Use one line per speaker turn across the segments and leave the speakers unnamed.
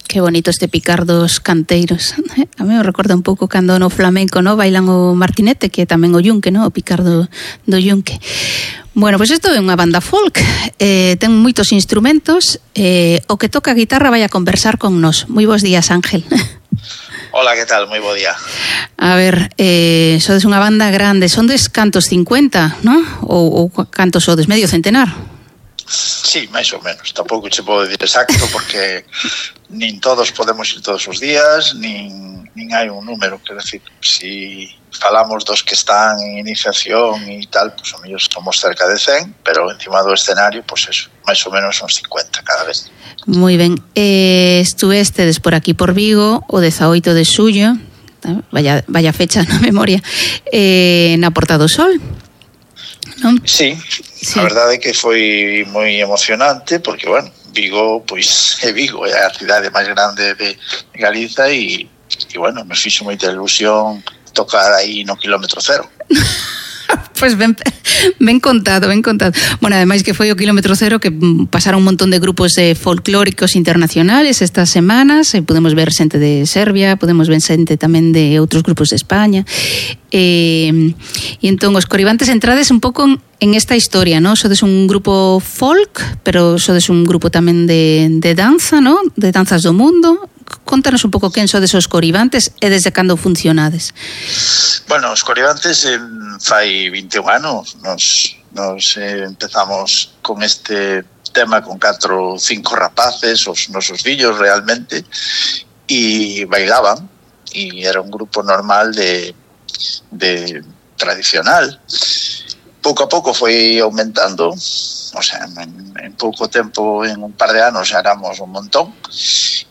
Que bonito este picar dos canteiros. A mí me recorda un pouco cando no flamenco, no, bailan o martinete, que tamén o yunque, no, o picar do yunque. Bueno, pois isto é unha banda folk, ten moitos instrumentos, o que toca a guitarra vai a conversar con nós. Moi bons días, Ángel.
Hola, que tal? Moi bo día.
A ver, sodes unha banda grande, son des cantos 50, non? Ou cantos sodes, medio centenar?
Sí, máis ou menos. Tampouco che podo dicir exacto porque nin todos podemos ir todos os días, nin hai un número. Quer decir, si falamos dos que están en iniciación e tal, pues o mellor somos cerca de 100, pero encima do escenario, pues eso, máis ou menos son 50 cada vez.
Moi ben. Estuvestedes por aquí por Vigo o 18 de xullo, vaya fecha na memoria, na Porta do Sol, non?
Sí. A verdade é que foi moi emocionante porque, bueno, Vigo, pois é Vigo, é a cidade máis grande de Galiza e bueno, nos fixo moita ilusión tocar aí no kilómetro cero.
Pois ben contado. Bueno, ademais que foi o kilómetro cero que pasaron un montón de grupos folclóricos internacionales estas semanas, podemos ver xente de Serbia, podemos ver xente tamén de outros grupos de España, e entón os Coribantes entrades un pouco en esta historia, ¿no? Sodes un grupo folk, pero sodes un grupo tamén de danza, ¿no? De danzas do mundo. Contanos un pouco quen sodes os Coribantes e desde cando funcionades.
Bueno, os Coribantes fai 21 anos nos empezamos con este tema con 4 ou 5 rapaces, os nosos fillos realmente, e bailaban, e era un grupo normal de tradicional. Pouco a pouco foi aumentando, o sea, en pouco tempo, en un par de anos xa éramos un montón,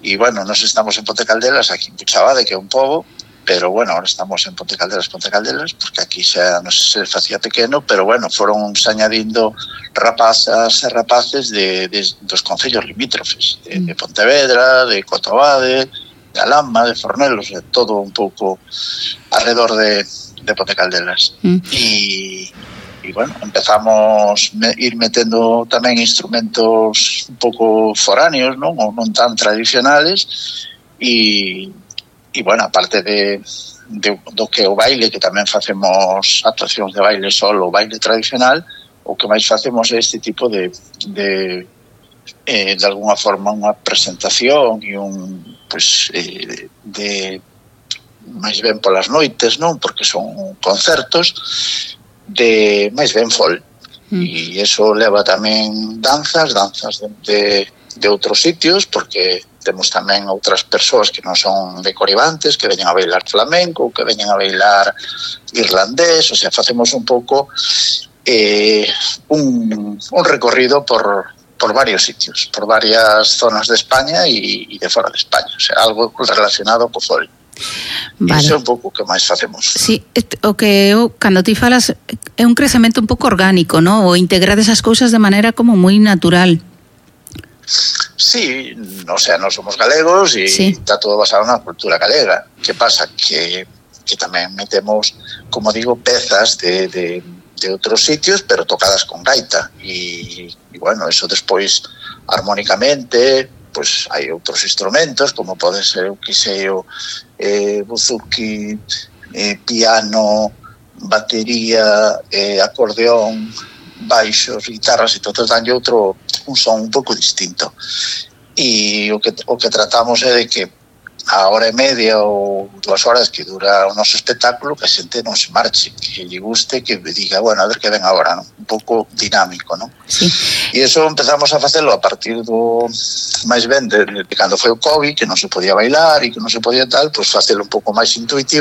e bueno, nos estamos en Ponte Caldelas, aquí en Puchabade, que é un pobo, pero bueno, ahora estamos en Ponte Caldelas, porque aquí xa nos se facía pequeno, pero bueno, foron añadindo rapazas e rapaces dos concellos limítrofes, de Pontevedra, de Cotobade, de Alhama, de Fornelos, de todo un pouco alrededor de Ponte Caldelas. E bueno, empezamos a ir metendo tamén instrumentos un pouco foráneos, non? Ou non tan tradicionales, e bueno, aparte do que o baile, que tamén facemos actuacións de baile solo, o baile tradicional, o que máis facemos é este tipo de alguna forma unha presentación e de máis ben polas noites, non? Porque son concertos de máis ben folk, e iso leva tamén danzas de outros sitios, porque temos tamén outras persoas que non son de Coribantes, que veñen a bailar flamenco, que veñen a bailar irlandés, o sea, facemos un pouco un recorrido por varios sitios, por varias zonas de España e de fora de España, o sea, algo relacionado co folk. Vale. Iso é un pouco o que máis facemos.
Sí, o que cando ti falas é un crecemento un pouco orgánico, ¿no? O integrar esas cousas de maneira como moi natural.
Sí, o sea, nós somos galegos e está todo basado na cultura galega. Que pasa? Que tamén metemos, como digo, pezas de outros sitios, pero tocadas con gaita. E bueno, eso despois armónicamente, pues hai outros instrumentos, como pode ser o que sei o buzuki, piano, batería, acordeón, baixos, guitarras, e todo danlle un son un pouco distinto. E o que tratamos é de que a hora e media ou 2 horas que dura o noso espectáculo, que a xente non se marche, que lle guste, que diga, bueno, a ver que ven agora, non? Un pouco dinámico, non?
Sí.
E iso empezamos a facelo a partir do máis ben de cando foi o COVID, que non se podía bailar e que non se podía tal, pois facelo un pouco máis intuitivo,